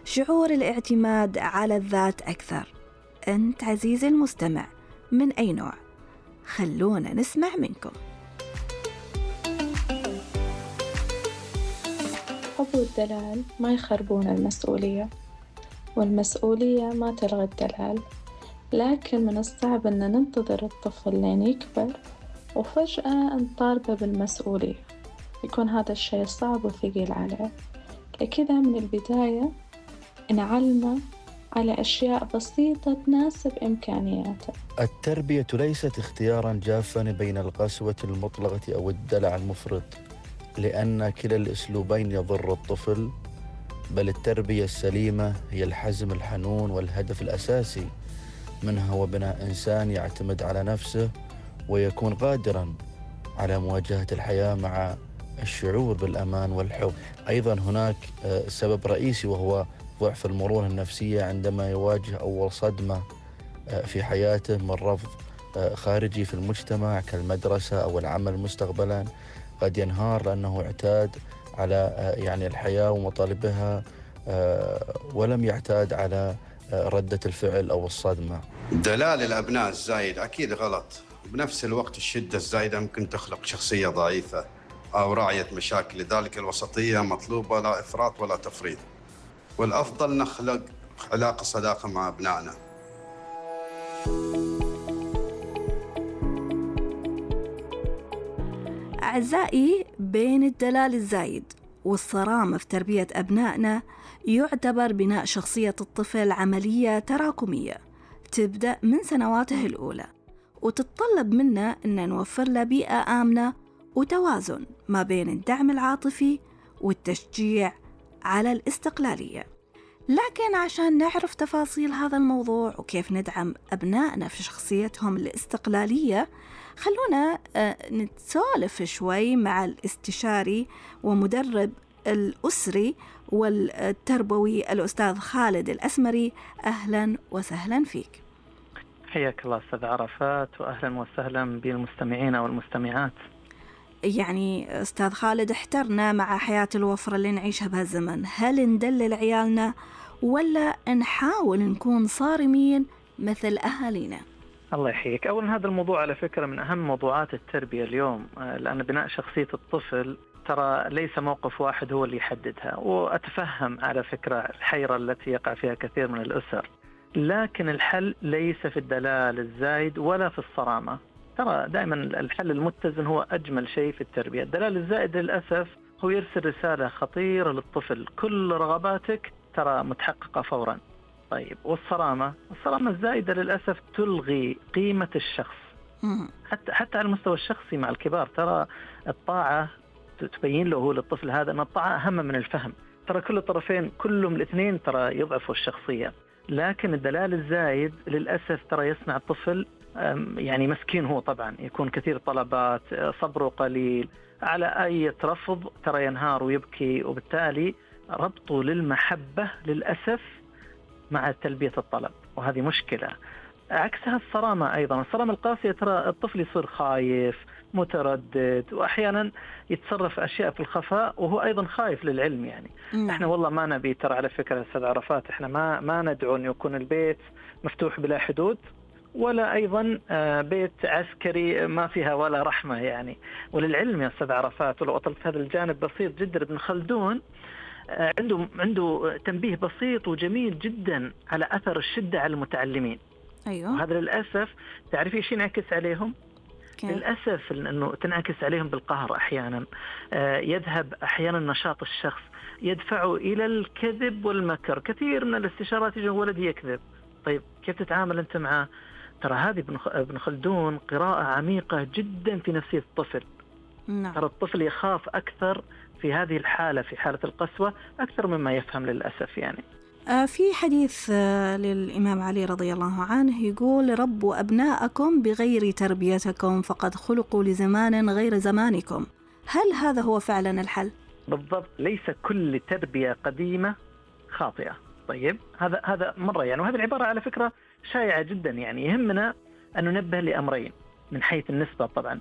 شعور الاعتماد على الذات أكثر. أنت عزيزي المستمع من أي نوع؟ خلونا نسمع منكم. الحب والدلال ما يخربون المسؤولية، والمسؤولية ما تلغي الدلال، لكن من الصعب أن ننتظر الطفل لين يكبر وفجأة نطالبه بالمسؤولية، يكون هذا الشيء صعب وثقيل عليه. لكذا من البداية نعلمه على أشياء بسيطة تناسب إمكانياته. التربية ليست اختياراً جافاً بين القسوة المطلقة أو الدلع المفرط، لأن كلا الأسلوبين يضر الطفل، بل التربية السليمة هي الحزم الحنون والهدف الأساسي منها هو بناء إنسان يعتمد على نفسه ويكون قادراً على مواجهة الحياة مع الشعور بالأمان والحب. أيضاً هناك سبب رئيسي وهو ضعف المرونة النفسية عندما يواجه أول صدمة في حياته من رفض خارجي في المجتمع كالمدرسة أو العمل مستقبلاً. قد ينهار لأنه اعتاد على الحياة ومطالبها ولم يعتاد على ردة الفعل أو الصدمة. دلال الأبناء الزايد أكيد غلط، بنفس الوقت الشدة الزايدة ممكن تخلق شخصية ضعيفة أو راعية مشاكل، لذلك الوسطية مطلوبة، لا إفراط ولا تفريط، والأفضل نخلق علاقة صداقة مع أبنائنا. أعزائي، بين الدلال الزايد والصرامة في تربية أبنائنا يعتبر بناء شخصية الطفل عملية تراكمية تبدأ من سنواته الأولى، وتتطلب منا أن نوفر له بيئة آمنة وتوازن ما بين الدعم العاطفي والتشجيع على الاستقلالية. لكن عشان نعرف تفاصيل هذا الموضوع وكيف ندعم أبنائنا في شخصيتهم الاستقلالية، خلونا نتسولف شوي مع الاستشاري ومدرب الأسري والتربوي الأستاذ خالد الأسمري. أهلا وسهلا فيك. حياك الله أستاذ عرفات، وأهلا وسهلا بالمستمعين والمستمعات. يعني أستاذ خالد، احترنا مع حياة الوفرة اللي نعيشها بهالزمن، هل ندلل عيالنا ولا نحاول نكون صارمين مثل أهالينا؟ الله يحييك. أولا هذا الموضوع على فكرة من أهم موضوعات التربية اليوم، لأن بناء شخصية الطفل ترى ليس موقف واحد هو اللي يحددها، وأتفهم على فكرة الحيرة التي يقع فيها كثير من الأسر، لكن الحل ليس في الدلال الزايد ولا في الصرامة. ترى دائما الحل المتزن هو أجمل شيء في التربية. الدلال الزائد للأسف هو يرسل رسالة خطيرة للطفل، كل رغباتك ترى متحققة فورا. طيب، والصرامة الزائدة للأسف تلغي قيمة الشخص حتى على المستوى الشخصي مع الكبار. ترى الطاعة تبين له للطفل هذا أن الطاعة أهم من الفهم. ترى كل الطرفين كلهم الاثنين ترى يضعفوا الشخصية، لكن الدلال الزايد للأسف ترى يصنع الطفل يعني مسكين، هو طبعا يكون كثير طلبات، صبره قليل، على أي رفض ترى ينهار ويبكي، وبالتالي ربطه للمحبة للأسف مع تلبية الطلب، وهذه مشكلة. عكسها الصرامة، أيضا الصرامة القاسية ترى الطفل يصير خايف متردد، وأحيانا يتصرف أشياء في الخفاء وهو أيضا خايف للعلم. يعني إحنا والله ما نبي، ترى على فكرة أستاذ عرفات، إحنا ما ندعو أن يكون البيت مفتوح بلا حدود، ولا أيضا بيت عسكري ما فيها ولا رحمة يعني. وللعلم يا أستاذ عرفات، ولو أطلت هذا الجانب بسيط جدا، ابن خلدون عنده تنبيه بسيط وجميل جدا على أثر الشدة على المتعلمين. أيوة. وهذا للأسف تعرفي إيش ينعكس عليهم؟ للأسف أنه تنعكس عليهم بالقهر أحيانا، يذهب أحيانا نشاط الشخص، يدفعه إلى الكذب والمكر. كثير من الاستشارات يجي ولدي يكذب، طيب كيف تتعامل أنت معه؟ ترى هذه ابن خلدون قراءة عميقة جدا في نفسية الطفل. ترى الطفل يخاف أكثر في هذه الحالة، في حالة القسوة، أكثر مما يفهم للأسف. يعني في حديث للإمام علي رضي الله عنه يقول: ربوا أبناءكم بغير تربيتكم فقد خلقوا لزمان غير زمانكم. هل هذا هو فعلا الحل؟ بالضبط، ليس كل تربية قديمة خاطئة. طيب، هذا مرة يعني، وهذه العبارة على فكرة شائعة جدا. يعني يهمنا أن ننبه لأمرين من حيث النسبة طبعا.